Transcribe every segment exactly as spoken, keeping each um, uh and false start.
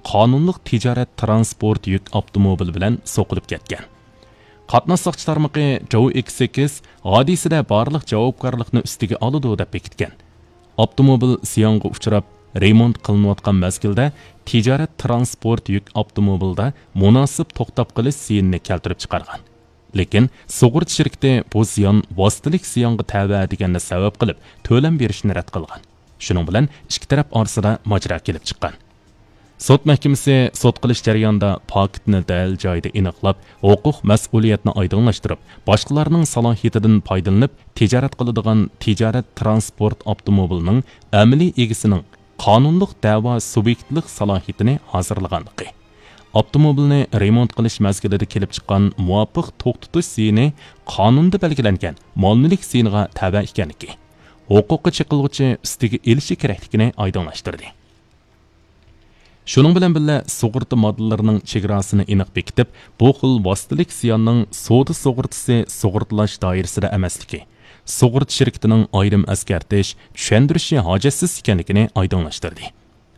قانۇنلۇق تىجارەت تىرانسپورت يۈك ئاپتوموبىلى بىلەن سوقۇلۇپ كەتكەن. قاتناش ساقچى تارمىقى جوۋ ئېكس سەككىز ھادىسىدە بارلىق جاۋابكارلىقنى ئۈستىگە ئالىدۇ دەپ بېكىتكەن. ئاپتوموبىل زىيانغا ئۇچراپ، رېمونت قىلىنىۋاتقان مەزگىلدە تىجارەت تىرانسپورت يۈك ئاپتوموبىلىدا مۇناسىپ توختاپ قېلىش زىيىنىنى كەلتۈرۈپ چىقارغان. لېكىن سۇغۇرتا شىركىتى بۇ زىيان ۋاسىتىلىك زىيانغا تەۋە دېگەننى سەۋەب قىلىپ، تۆلەم بېرىشنى رەت قىلغان. شۇنىڭ بىلەن ئىككى تەرەپ ئارىسىدا ماجىرا كېلىپ چىققان. سوت مەھكىمىسى سوت قىلىش جەريانىدا پاكىتنى دەل جايىدا ئېنىقلاپ، ھوقۇق مەسئۇلىيەتنى ئايدىڭلاشتۇرۇپ، باشقىلارنىڭ سالاھىيىتىدىن پايدىلىنىپ تىجارەت قىلىدىغان تىجارەت تىرانسپورت ئاپتوموبىلىنىڭ ئەمەلىي ئىگىسىنىڭ قانۇنلۇق دەۋا سۇبيېكتلىق سالاھىيىتىنى ھازىرلىغانلىقى، ئاپتوموبىلنى رېمونت قىلىش مەزگىلىدە كېلىپ چىققان مۇۋاپىق توختىتىش زىيىنى قانۇندا بەلگىلەنگەن مال مۈلۈك زىيىنىغا تەۋە ئىكەنلىكى، ھوقۇققا چېقىلغۇچى ئۈستىگە ئېلىشى كېرەكلىكىنى ئايدىڭلاشتۇردى. شۇنىڭ بىلەن بىللە، سۇغۇرتا ماددىلىرىنىڭ چېگراسىنى ئېنىق بېكىتىپ، بۇ خىل ۋاسىتىلىك زىياننىڭ سودا سۇغۇرتىسى سۇغۇرتىلاش دائىرىسىدە ئەمەسلىكى، سۇغۇرتا شىركىتىنىڭ ئايرىم ئەسكەرتىش، چۈشەندۈرۈشى ھاجەتسىز ئىكەنلىكىنى ئايدىڭلاشتۇردى.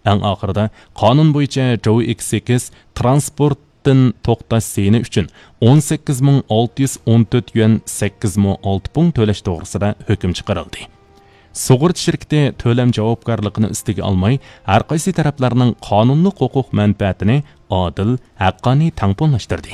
ئەڭ ئاخىرىدا قانۇن بويىچە جوۋ ئېكس سەككىز تىرانسپورتتىن توختاش زىيىنى ئۈچۈن ئون سەككىز مىڭ ئالتە يۈز ئون تۆت يۈەن سەككىز مو ئالتە پۇڭ تۆلەش توغرىسىدا ھۆكۈم چىقىرىلدى. سۇغۇرتا شىركىتى تۆلەم جاۋابكارلىقىنى ئۈستىگە ئالماي، ھەرقايسى تەرەپلەرنىڭ قانۇنلۇق ھوقۇق مەنپەئەتىنى ئادىل، ھەققانىي تەڭپۇڭلاشتۇردى.